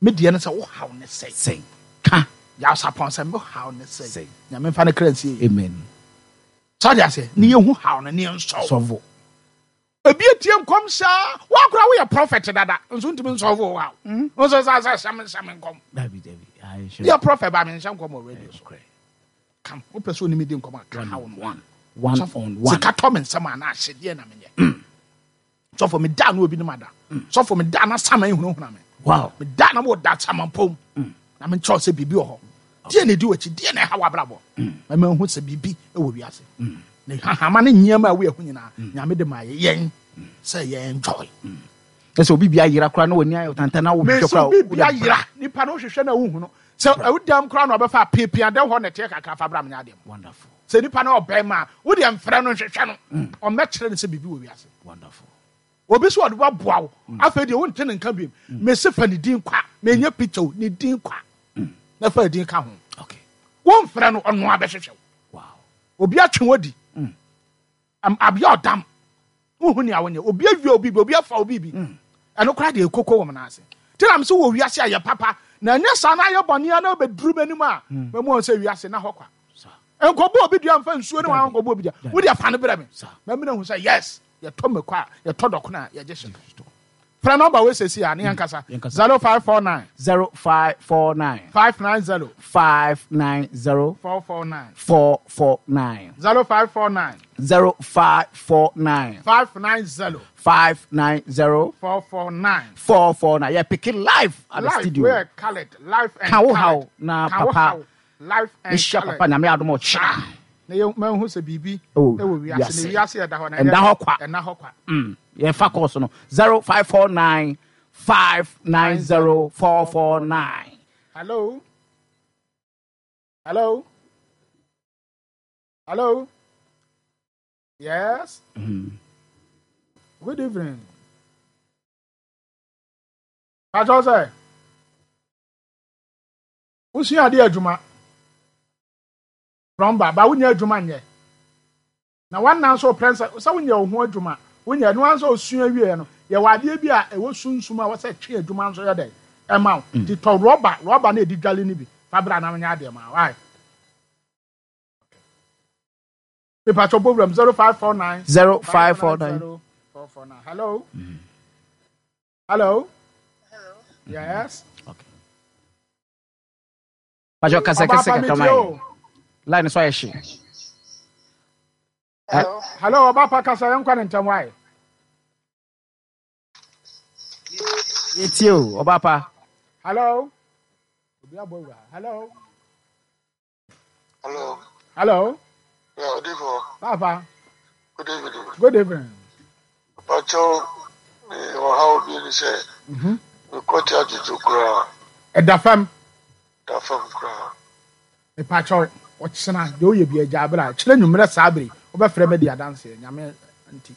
Me deɛ no sɛ wo haw ne sɛn. Sɛn. Ka. Yɛasapɔn sɛ me haw ne sɛn. Sɛn. Nyame mfa ne kra nsie. Amen. Sɛ ɔde ase ne yɛhu haw no ne yɛnsɔw. Sɔvo. Ebi etie nkɔm saa wakora woyɛ prophet dada nso ntumi nsɔvo wo haw. Nso sɛ sɛ hyɛm hyɛm nkɔm. Dabi dabi. Ayi Yɛ prophet ba me nhyɛ nkɔm wɔ radio so. Kam wopɛ sɛ onim di nkɔm a ka haw no. One. One on one. Sika tɔ me nsɛm a na ahyedeɛ na menyɛ. Sɔfo me da no obi no mada. Sɔfo me da na sama ehunahuna me. Wow. Me da na mo da sama pom. Na me nkyɛw sɛ biribi wɔ hɔ. Deɛ na edi w'akyi, deɛ na ɛha w'abrabɔ. Ma ma hu sɛ biribi wɔ wiase. Na hahama ne nneɛma a woyɛ ho nyinaa, Nyame de ma yɛn sɛ yɛn enjoy. Ɛsɛ obi bi ayera koraa na w'ani ayɛ tanta na wohwehwɛ Mesi koraa. obi bi ayera, nipa no wohwehwɛ na wohu no. Sɛ ɛwodam koraa na ɔbɛfa apiapia dɛm hɔ na ɛteɛ kakra fa bra me nyɛ adeɛ. Wonderful. Sɛ nipa no ɔbɛn a, wo deɛ mfrɛ no nhwehwɛ no. Ɔmmɛkyerɛ no sɛ biribi wɔ wiase. Wonderful. Obi so ɔde waboa wo. Afei deɛ wonte ne nka biom. Mesi fa ne din kwa. Menyɛ picture o, ne din kwa. Na fa din ka ho. Okay. Womfrɛ no ɔno abɛhwehwɛ wo. Wow. Obi atwe wodi. Am abia ɔdam. Wohu nea wonyɛ. Obi awie obi bi, obi afa obi bi. Ɛno koraa deɛ ekoko wɔ m n'ase. Nti na mese wɔ wiase a yɛ papa. Na ɛnyɛ saa na ayɛ bɔne a na wobɛduru m'anim a, mamu wɔn sɛ wiase na hɔ kwa. Nkɔbɔ obi dua mfa nsuo ne wɔn nkɔbɔ obi dua. Wode afa no brɛ me. Mamina hu sɛ yes, yɛtɔ mako a, yɛtɔ dɔkono a, yɛgye hyɛ. Frɛ nɔmba wei sɛsi a ne yɛnkasa. zero five four nine zero five four nine five nine zero five nine zero four four nine four four nine zero five four nine zero five four nine five nine zero five nine zero four four nine four four nine. Yeah, pick it live at the Live, studio. we're colored. Live and Ka wo colored. haw na Ka wo papa. haw. Live and Mehyia colored. papa nyame adom ɔkyena. Na yɛ mahu sɛ biribi Oh, ɛwɔ wiase. wiase. Na wiase ɛda hɔ na Ɛnda hɔ kwa. Ɛnda hɔ kwa. Mm. Yɛfa course no zero five four nine five nine zero four four nine. Hello. Hello. Hello. Yes. Good evening. Patrol sɛ. Wosua ade adwuma. Plumber, ba wonya adwuma nyɛ. Na wannan so pɛ sɛ sɛ wonya wo ho adwuma. Wonya no anso osua wie no. Yɛ wɔ adeɛ bi a ɛwɔ sunsum a wɔsɛ twe adwuma nso yɛ dɛ. Ɛma wo. Ti tɔ rɔba, rɔba na edi dwale ni bi. Fa bra na wonya adeɛ ma. Why? Patrol program zero five four nine zero five four nine four four nine. Hello. Hello. Hello. Yes. Okay. Patrol kasa kasa Ọba kakra pa mi ma. Line so ayɛ hye. Hello. Hello, Ọba pa kasa yɛn nkwa ne ntɛm wae. Yɛtie o, ɔba pa. Hello. Obi abɔ wura. Hello. Hello. Hello. Yeah, Odifo. Papa. Good evening. Good evening. Pacho, me ɔhaw bi ni sɛ, mekɔte adwodwo koraa, Ɛda fam. da fam koraa. Mepakyɛw ɔkyena deɛ woyɛ bi agya abere a kyerɛ nwummerɛ saa bere wobɛfrɛ me di adanseɛ nyame nti.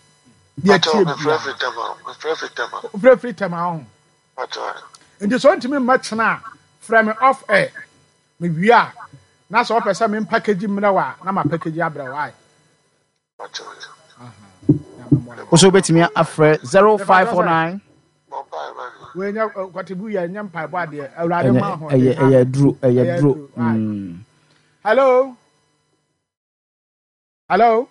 Deɛ Pacho, tie mefrɛ bia. firi Tema, mefrɛ firi Tema. Wofrɛ firi Tema ho. Pacho, Nti sɛ wontumi mma kyena a frɛ me off air. Mewie a na sɛ wopɛ sɛ me package mmerɛ wo a na ma package abrɛ wo ae. Pacho. Nyame mmoa wo. Wo so wobɛtumi afrɛ zero five four nine Bɔ mpaeɛ ma me. Wei nyɛ kɔtebu yɛ nyɛ mpaebɔ adeɛ. Awurade ma ho. ɛyɛ ɛyɛ duro ɛyɛ Ɛyɛ duro. duro, aye. Mm. Hello. Hello.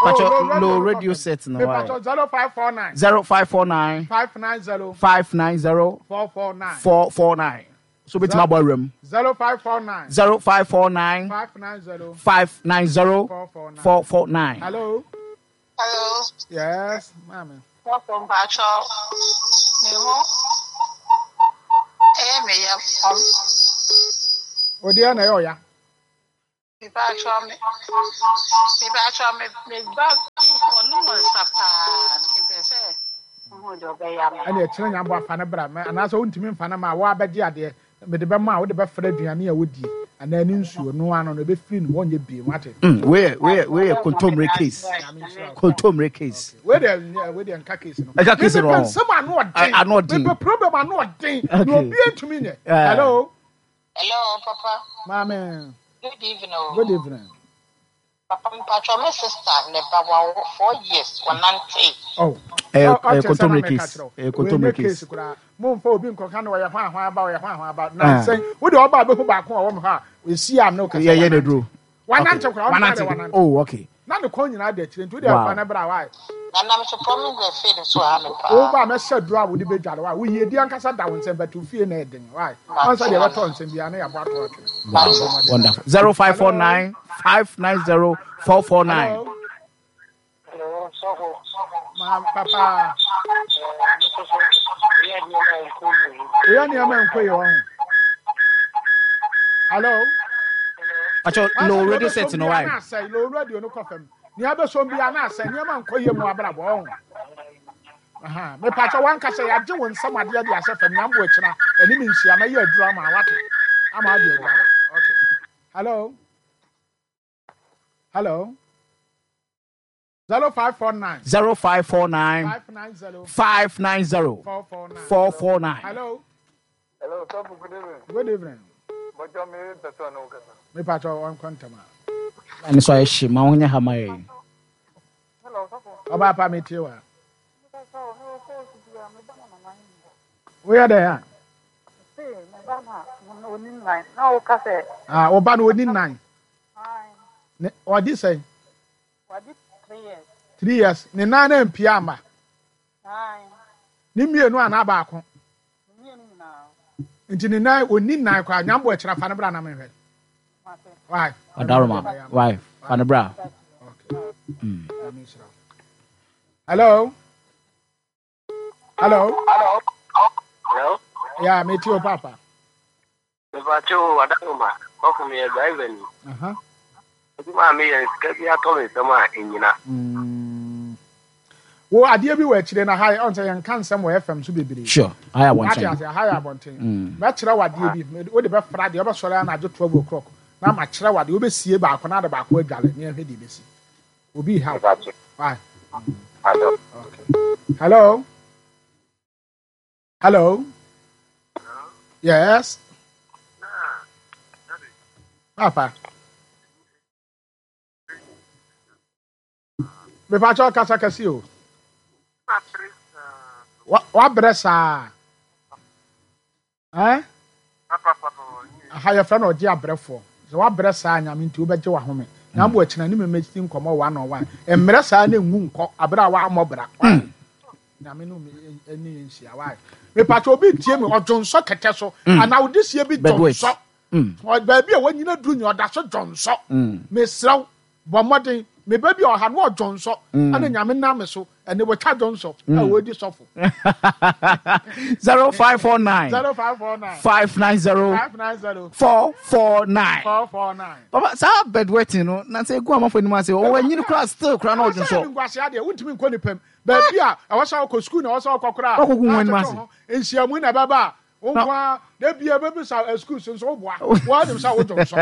Pacho, Oh, low radio set no why? Pacho zero five four nine zero five four nine five nine zero five nine zero four four nine four four nine. So bɛtumi abɔ awura mu. zero five four nine zero five four nine five nine zero five nine zero four four nine. four four nine. Hello. Hello. Yes, mami. Welcome, Pacho. Me ho. Eh, me ya. Odi na yo ya. Mepa me mepa me me ba ɔnom nsa paa nti mpɛ sɛ mehu deɛ ɔbɛyɛ ama. Ɛne ɛkyerɛ nyambɔ afa no bra anaasɛ wontumi mfa no ma a woabɛgye adeɛ mede bɛma a wode bɛfrɛ aduane a wodie anaa ne nsuo no ano no ɛbɛfiri no wɔnyɛ bie wate. Wei wei wei yɛ kontomire case. Kontomire case. Wei deɛ wei deɛ nka case no. Ɛka case no. Mepɛ nsɛm ano ɔden. Ano ɔden. Mepɛ problem ano ɔden. Na obi ntumi nyɛ. Hello. Hello, Papa. Maame. Good evening. O. Good evening. Papa, mpatwa me sister ne ba wa four years wanante. Oh. Eh, eh, kontomire case. Eh, kontomire case. Mo mfa obi nkɔka na ɔyɛ hwan hwan aba ɔyɛ hwan hwan aba na sɛn wo de ɔba abɛhu baako a ɔwɔ me hɔ a esi am na ɔkasa. Yɛ yɛ ne duro. Wanante koraa wanante. Wanante. Oh, okay. Na ne kɔn nyinaa da akyire nti wo de afa ne bra wae. Na nam so promise the faith so ha me paa. Wo ba mɛhyɛ duro a wo de bɛdware wae. Wo yie di ankasa da wo nsɛm bɛto fie na ɛden wae. Ansa deɛ bɛtɔ nsɛm biara na yɛabɔ ato atwene. Wonderful. Zero five four nine five nine zero four four nine. Hello, sɔfo. Ma papa. Oyɛ nneɛma nkɔ yɛ wɔn. Hello. Acho low radio set no why? Low radio no kɔ fam. Nea bɛsɔm bi ana asɛ nneɛma nkɔ yɛ mu abrabɔ wɔn. Aha, me pacha wan kasa ya gye won nsɛm adeɛ de ahyɛ fam nyambo akyina ɛne me nhyia ma yɛ aduru ama wate. Ama ade adware. Okay. Hello. Hello. Zero five four nine. Zero five four nine. Five nine zero. Five nine zero. Four four nine. Four four nine. Hello. Hello, Sɔfo, good evening. Good evening. Bɔjɔ mi pɛsɛ ɔne wo kasa. Me pacha on kwantama. Ɛne so ayɛ hye ma wo nyɛ ha ma yɛ. Hello, Sɔfo. Ɔba pa me tie wa. Woyɛ dɛ a? Ah, ɔba no oni nine. Ne ɔdi sɛn? Three years. Ne nan na mpia ama. Ne mmienu anaa baako. Nti ne nan oni nine koraa nyambo akyira fa ne bra na mehwɛ. Why? Adaroma. Why? Fa ne bra. Okay. Mm. Hello. Hello. Hello. Hello. Yeah, me too, Papa. Mepacho Adaroma. Kɔfo mi yɛ driver ni. Uh-huh. Adwuma a meyɛ sika bi atɔ me nsɛm a ɛnyina. Mm. Wo adeɛ bi wɔ akyire na ha ɔn sɛ yɛnka nsɛm wɔ F M so bebree. Sure. Ayɛ abɔnten. Ate ase ha yɛ abɔnten. Mɛkyerɛ wo adeɛ bi. Wo de bɛfra deɛ wobɛsɔre anadwo twelve o'clock. Na makyerɛ wo adeɛ wobɛsie baako na ade baako adwale ne ɛhwɛ deɛ bɛsi. Obi ha. Why? Okay. Hello. Hello. Yes. Papa. Me pacho kasa kasi o. Wa wa bresa. Eh? Aha ye friend oje abrefo. So wa bresa nya me nti obeje wa home. Na mbo akina ni me meti nkomo one on one. Emre saa na ngu nko abra wa amobra. Na me no me eni nhyia wa. Me pacho obi tie me odwonso kete so. Ana odisie bi dwonso. Ba bi a wanyina duru nya oda so dwonso. Me sraw bo modern me ba bi oha no odwonso. Ana nyame na me so ene wo twa dwonso a wo di sofo. zero five four nine zero five four nine five nine zero five nine zero four four nine four four nine. Papa sa bedwetting no na say gu amafo anim ase o anyini kra still kra na odwonso. Ngwase ade wontimi nkɔ nipam. Ba bi a ɛwɔ sɛ wokɔ school na ɛwɔ sɛ wokɔ kra. Wokɔ gu anim ase. Nhyiamu na bɛba. Wonkwa da bia bɛbi sa school so so boa. Wo dem sa wo dwonso.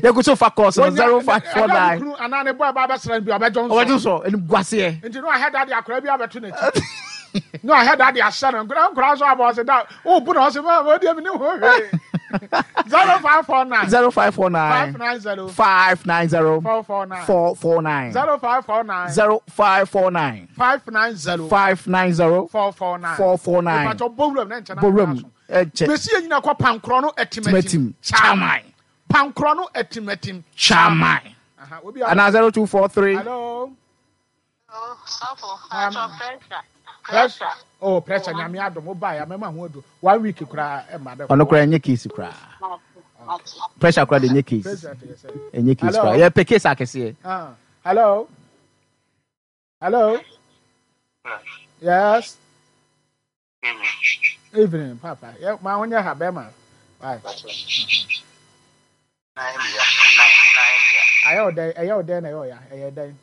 Ye go so fa course zero five four nine. Ana ne boy ba bɛsra bi obɛdwonso. Obɛdwonso enim gwase. Nti no aheda de akora bi abɛto n'akyi. No aheda de ahyɛ no. Nkora nkora so abɔ se da. Wo bu na ɔse ma wo de mi ne ho hwe. zero five four nine zero five four nine five nine zero five nine zero four four nine four four nine zero five four nine zero five four nine five nine zero five nine zero four four nine four four nine. Pacho bowuram na nchana. Bowuram. Eche. Mesi enyina kwa pankro no etimetim. Chairman. Pankro no etimetim. Chairman. Aha, obi ana zero two four three. Hello. Oh, safo. Pacho pressure. Pressure. Oh, pressure nyame adom oba ya mema ho adu. One week kura e ma de. Ono kura enye case kura. Pressure kura de enye case. Enye case kura. Ye pe case akese. Ah. Hello. Hello. Yes. Evening, Papa. Yeah, ma onye ha be ma. Bye. Ayɛ ɔdɛn ɛyɛ ɔdɛn na ɛyɛ ɔya ɛyɛ dɛn.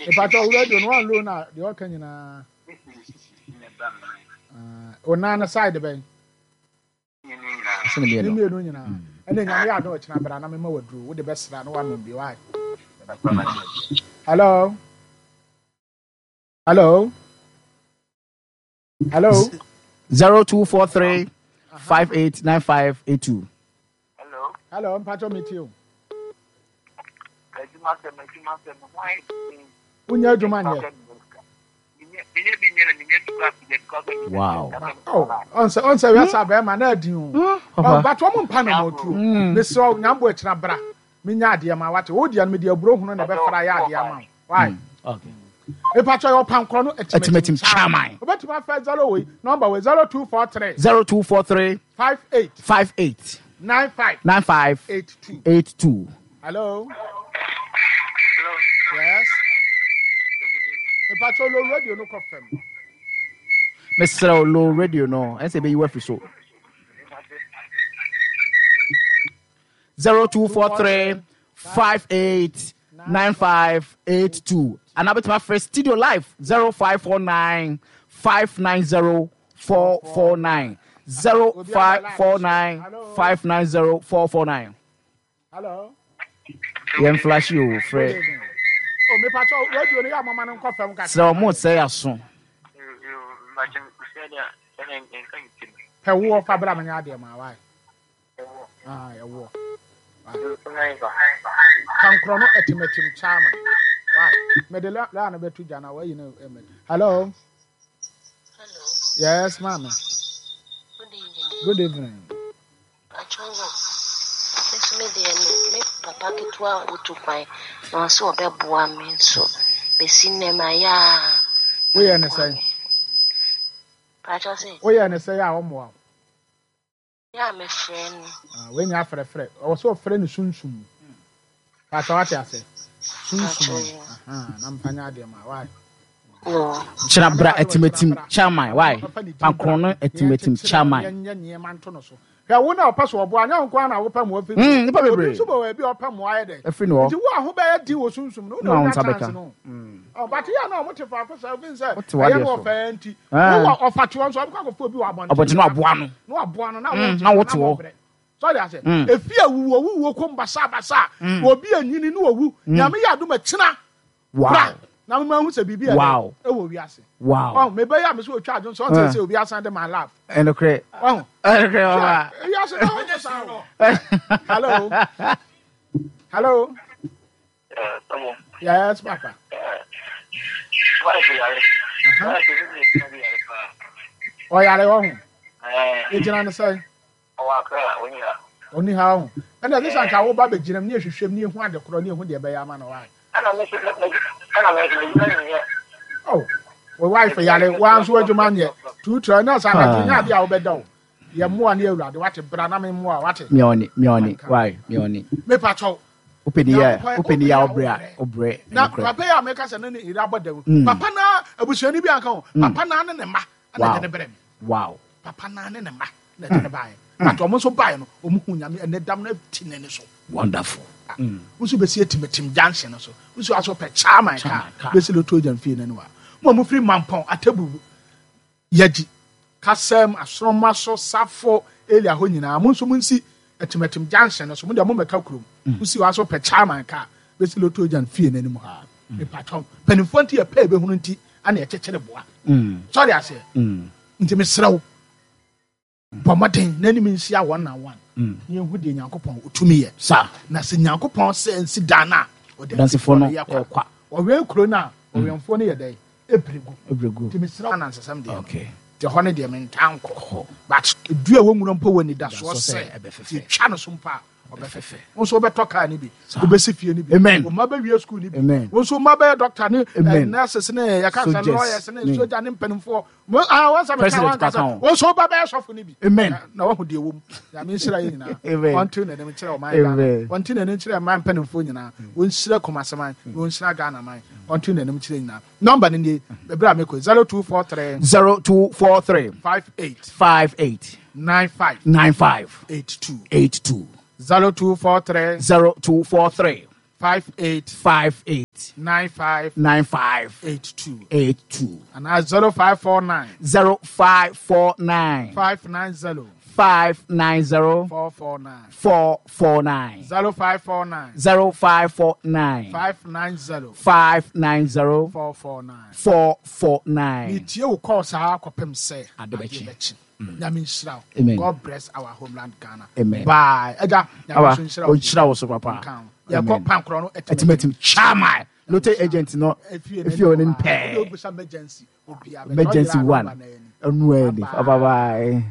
Ìpàtɔ radio no one low na deɛ ɔka nyinaa. Onan no side bɛn. Ne mmienu nyinaa. Ɛna nyame yɛ adom ɔkyena bra na mema waduro wode bɛsra na wanom bi why. Hello. Hello. Hello. Zero two four three five eight nine five eight two. Hello. Hello, mpatɔ mi ti o. Wonyɛ adwuma nyɛ. Wow. Oh, ɔnsɛ ɔnsɛ wiase abɛɛma na adi o. But wɔn mpa na wɔn tuo. Mesrɛ nyambo akyina bra. Menya adeɛ ma wate. Wo deɛ no mede aburo hunu na ɛbɛfra yɛ adeɛ ama wo. Why? Okay. Mpatɔ yɛ ɔpankorɔ no Atimatim chairman. Obetumi afɛ zero wei number wei zero two four three Zero two four three five eight five eight nine five nine five eight two. eight two. Hello. Hello. Yes. Mpatɔ lo radio no kɔ fam. Mesrɛ low radio no ɛnsɛ bɛyi wafiri so. Zero two four three five eight nine five eight two. And abɛtumi afrɛ studio live zero five four nine five nine zero four four nine zero five four nine five nine zero four four nine. Hello. Yɛn flash o frɛ. Oh, mepatɔ radio no yɛ amama no nkɔ fam kakra. Sɛ ɔmo sɛ aso. Pɛ woɔ fa bra menya adeɛ ma wae. Ah, ɛwoɔ. Kankorɔ no atimatim chairman. Why? Mede la no bɛto gya na wayi no ɛmɛ. Hello. Hello. Yes, ma'am. Good evening. Good evening. Achongo. Nso me deɛ me me papa ketewa otu kwan na ɔsɛ ɔbɛboa me nso besi nnɛ ma ya. Woyɛ ne sɛn? Pacho sɛ. Woyɛ ne sɛn a ɔmmoa wo? Ya me frɛ no. Ah, wenya afrɛfrɛ. Ɔwɔ sɛ ɔfrɛ no sunsum. Pacho wate ase. Sunsum. Aha, na mfa nya adeɛ ma. Why? Kyerɛ bra atimatim chairman. Why? Pankorɔ no atimatim chairman. Nyɛ nneɛma nto no so. Hwɛ wo na ɔpɛ so ɔboa anya nko na wopɛ mo afiri. Mm, nipa bebree. Obi nso bɔ baabi a ɔpɛ mo ayɛ dɛ. Afiri no hɔ. Nti wo a ho bɛyɛ din wɔ sunsum no, wo Na na wo wonya nsa chance bɛka. no. Oh, but yɛ na ɔmo te faako sɛ obi nsɛ Wote w'adeɛ ɛyɛ no so. ɔfɛɛ nti. Ah. Wo wɔ ɔfa te hɔ nso ɔbɛkɔ akɔfa obi wɔ abɔnten. Abɔnten no aboa no. Na waboa no na Mm, wo na wote hɔ. brɛ. Sɔre ase. Mm. Efi awuwo wuwo kom basa basa. Obi anyini ne owu. Nyame yɛ adom akyina. Wow. Bra. Na mema hu sɛ biribi a Wow. ɛwɔ wiase. Wow. Oh, mebɛyɛ a me sɛ otwa adwon sɛ ɔnsɛ sɛ obi asan de my love. Ɛnokorɛ. Oh. Ɛnokorɛ baba. Wiase na ɔnyɛ saa o. Hello. Hello. Yes, Papa. Ɔyare wɔ ho. Egyina ne sɛn. Ɔni ha ho. Ɛna ɛsɛ sɛ anka wo ba bɛgyina mu ne ehwehwɛ mu ne ehu ade korɔ ne ehu deɛ ɛbɛyɛ ama no wae. Oh, wo wife yare wa nso adwuma nyɛ. Tuutura na sɛ anadwo nya ade a wobɛda o. Yɛ mmoa ne awurade wate bra na me mmoa wate. Mioni, mioni, why? Mioni. Mepa kyɛw. Open the air, open the air, obre, obre. Na papa yi a meka sɛ ne ne yere abɔ dam. Papa na abusuani bi anka ho. Papa na ne ne mma na Wow. de ne brɛ me. Wow. Papa na ne ne mma na de ne baeɛ. But ɔmo nso baeɛ no, ɔmo hu Nyame ɛnɛ dam no ti ne ne so. Wonderful. Nso bɛsi atimatim junction no so. Nso aso pɛ chairman Chairman car. car. Bɛsi loto gyan fie n'anim a. Mo a mofiri Mampɔn, Atabu, Yagyi, Kasɛm, Asoroma so, Safo, Elia hɔ nyinaa. Mo nso monsi atimatim junction no so. Mo deɛ mommɛka kurom. Mosi hɔ aso pɛ chairman car. Bɛsi loto gyan fie n'anim ha. Mepatwɔn. Mpanimfoɔ nti yɛpɛ ebɛhunu nti ana yɛkyekyere boa. Sɔre aseɛ. Nti mesrɛ wo. Bɔ mmɔden n'anim nhyia one on one. Ne yɛnhu deɛ Nyankopɔn otumi yɛ. Sa. Na sɛ Nyankopɔn sɛ nsi dan no a, ɔde Dansefoɔ no yɛ kwa. ɛkwa. Ɔwɛn kuro no a, ɔwɛnfoɔ no yɛ dɛn? Ɛpere gu. Ebregu. Nti mesrɛ wo anansesɛm deɛ no. Okay. Nti ɛhɔ no deɛ mentaa nkɔ. But dua a ɛwɔ nwura mpo wɔ anidasoɔ Anidasoɔ sɛ sɛ ɛbɛfɛfɛ. yɛtwa no so mpo a, ɔbɛfɛfɛ. Wo nso wobɛtɔ kaa no bi. Wobɛsi fie no bi. Amen. Wo mma bɛwie school no bi. Amen. Wo nso mma bɛyɛ doctor ne Amen. eh, nurses ne yɛka sɛ Soldiers. lawyers ne Ne. soja ne mpanimfoɔ. Mo- ah, wɔn sɛ meka President wɔn ankasa. ka ho. Wo nso woba bɛyɛ sɔfo no bi. Amen. Na- Na wahu deɛ wɔ mu. Nyame nhyira yɛ nyinaa. Amen. Ɔnte n'anim nkyerɛ ɔman Ghana. Amen. Ɔnte n'anim nkyerɛ mmaa mpanimfoɔ nyinaa. Wɔnhyira Kumasi man. Wɔnhyira Ghana man. Ɔnte n'anim nkyerɛ nyinaa. Number no nie. Ɛberɛ a mekɔ zero two four three Zero two four three five eight five eight nine five nine five eight two. eight two. Zero two four three zero two four three five eight five eight nine five nine five eight two eight two anaa zero five four nine zero five four nine five nine zero five nine zero four four nine four four nine zero five four nine zero five four nine five nine zero five nine zero four four nine. four four nine. Metie wo kɔɔ saa kɔpem sɛ Ade bɛkye. adeɛ bɛkye. Nyame nhyira wo. Amen. God bless our homeland Ghana. Amen. Bye. Agya, Nyame Aba, nso nhyira wo. ɔnhyira wo so papa. Nka ho. Yɛkɔ Amen. pankorɔ no Ɛtimatim chairman lote agent no Efie efie wɔ ne n'anim hɔ a, mpɛɛ. wode wobisa emergency obiara bɛkyerɛ. Emergency Ɔyera a, one. number no ani. Ɛnu ɛni. Bye bye.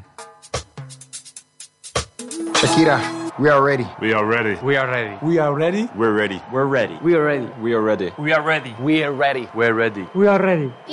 Shakira, we are ready. We are ready. We are ready. We are ready. We're ready. We're ready. We are ready. We are ready. We are ready. We are ready. We're ready. We are ready.